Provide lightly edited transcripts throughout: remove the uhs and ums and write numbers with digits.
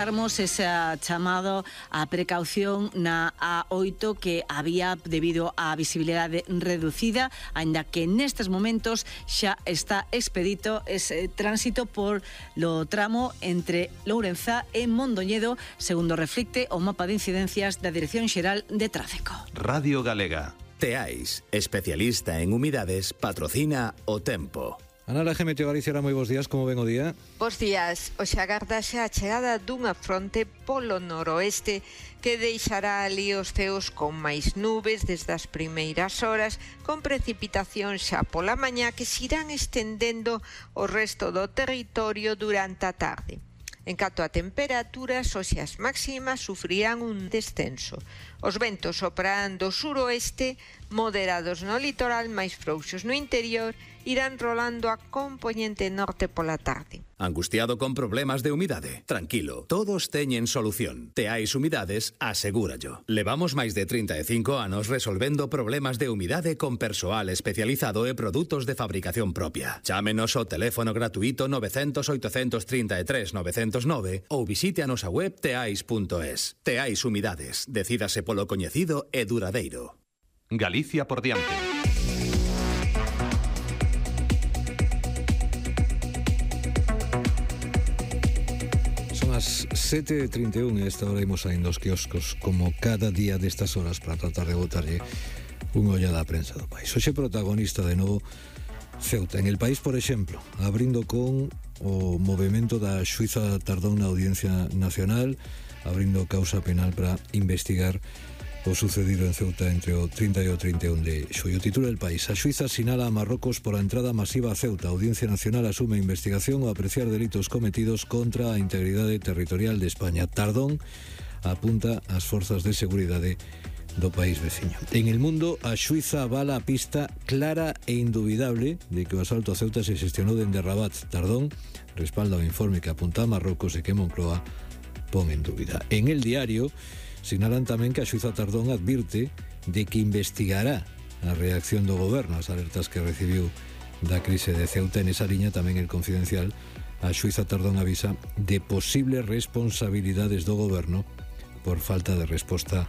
Ese chamado a precaución na A8 que había debido á visibilidade reducida, aínda que nestes momentos xa está expedito ese tránsito por lo tramo entre Lourenzá e Mondoñedo, segundo reflicte o mapa de incidencias da Dirección Xeral de Tráfico. Radio Galega. Teais, especialista en humidades, patrocina o tempo. Ana Laje, Meteo Galicia, moi bons días, como ven o día? Bos días, hoxe agárdase a chegada dunha fronte polo noroeste que deixará ali os ceos con máis nubes desde as primeiras horas, con precipitación xa pola mañá que se irán estendendo o resto do territorio durante a tarde. En canto a temperaturas, hoxe as máximas sufrirán un descenso. Os ventos soprarán do suroeste, moderados no litoral, máis frouxos no interior, irán rolando a compoñente norte pola tarde. Angustiado con problemas de humidade? Tranquilo, todos teñen solución. Teais Humidades, asegúrallo. Levamos máis de 35 anos resolvendo problemas de humidade con persoal especializado e produtos de fabricación propia. Chámenos ao teléfono gratuito 900 833 909 ou visite a nosa web teais.es. Teais Humidades, decídase polo coñecido e duradeiro. Galicia por diante. Son as 7:31 e esta hora imos saindo aos quioscos como cada día destas horas para tratar de botarlle unha ollada á prensa do país. Hoxe protagonista de novo Ceuta. En El País, por exemplo, abrindo con o movimento da xuíza Tardón na Audiencia Nacional, abrindo causa penal para investigar o sucedido en Ceuta entre o 30 e o 31 de xullo. Titula El País. A xuíza sinala a Marrocos pola entrada masiva a Ceuta. A Audiencia Nacional asume a investigación ao apreciar delitos cometidos contra a integridade territorial de España. Tardón apunta ás forzas de seguridade do país veciño. En El Mundo, a xuíza avala a pista clara e indubidable de que o asalto a Ceuta se xestionou dende Rabat. Tardón respalda o informe que apunta a Marrocos e que Moncloa pon en dúbida. En El Diario sinalan tamén que a xuíza Tardón advirte de que investigará a reacción do goberno ás alertas que recibiu da crise de Ceuta. En esa liña tamén El Confidencial, a xuíza Tardón avisa de posibles responsabilidades do goberno por falta de resposta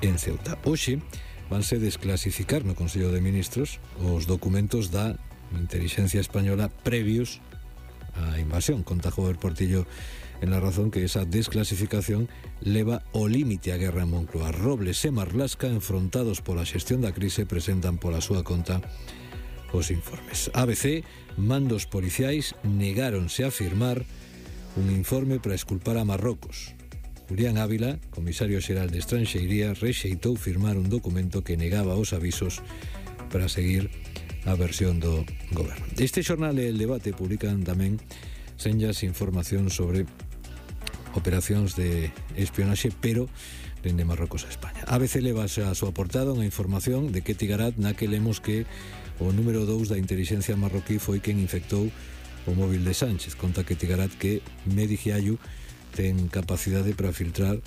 en Ceuta. Hoxe vanse desclasificar no Consello de Ministros os documentos da Intelixencia Española previos á invasión. Conta Jover Portillo en La Razón que esa desclasificación leva o límite á guerra en Moncloa. Robles e Marlasca, enfrontados pola xestión da crise, presentan pola súa conta os informes. ABC, mandos policiais negáronse a firmar un informe para esculpar a Marrocos. Julián Ávila, comisario xeral de Estranxeiría, rexeitou firmar un documento que negaba os avisos para seguir a versión do goberno. Este xornal e El Debate publican tamén senllas información sobre operacións de espionaxe, pero dende Marrocos a España. ABC leva a súa portada unha información de Ketty Garat na que lemos que o número 2 da intelixencia marroquí foi quen infectou o móvil de Sánchez. Conta Ketty Garat que Medi Giayu ten capacidade para filtrar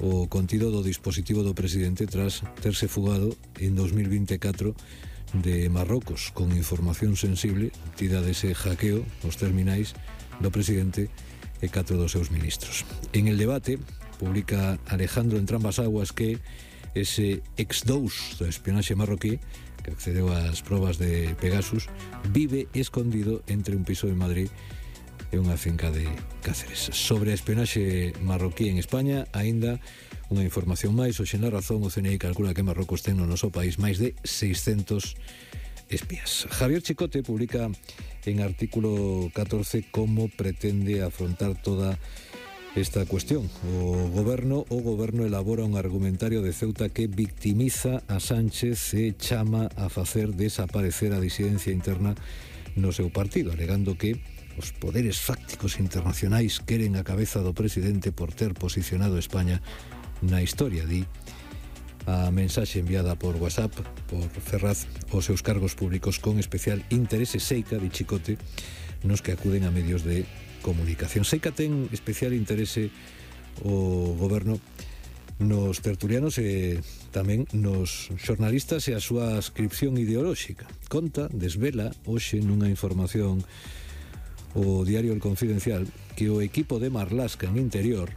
o contido do dispositivo do presidente tras terse fugado en 2024 de Marrocos con información sensible obtida dese hackeo os terminais do presidente e 4 dos seus ministros. En El Debate publica Alejandro Entrambas Aguas que ese ex-2 do espionaxe marroquí que accedeu ás probas de Pegasus vive escondido entre un piso de Madrid e unha finca de Cáceres. Sobre a espionaxe marroquí en España, aínda unha información máis. Hoxe na Razón, o CNI calcula que Marrocos ten no noso país máis de 600 espías. Javier Chicote publica en artículo 14 como pretende afrontar toda esta cuestión. O goberno elabora un argumentario de Ceuta que victimiza a Sánchez e chama a facer desaparecer a disidencia interna no seu partido, alegando que os poderes fácticos internacionais queren a cabeza do presidente por ter posicionado España na historia, di a mensaxe enviada por WhatsApp por Ferraz aos seus cargos públicos con especial interese. Seica, di Chicote, nos que acuden a medios de comunicación. Seica ten especial interese o goberno nos tertulianos e tamén nos xornalistas e a súa ascripción ideolóxica. Conta, desvela hoxe nunha información o diario El Confidencial que o equipo de Marlaska en Interior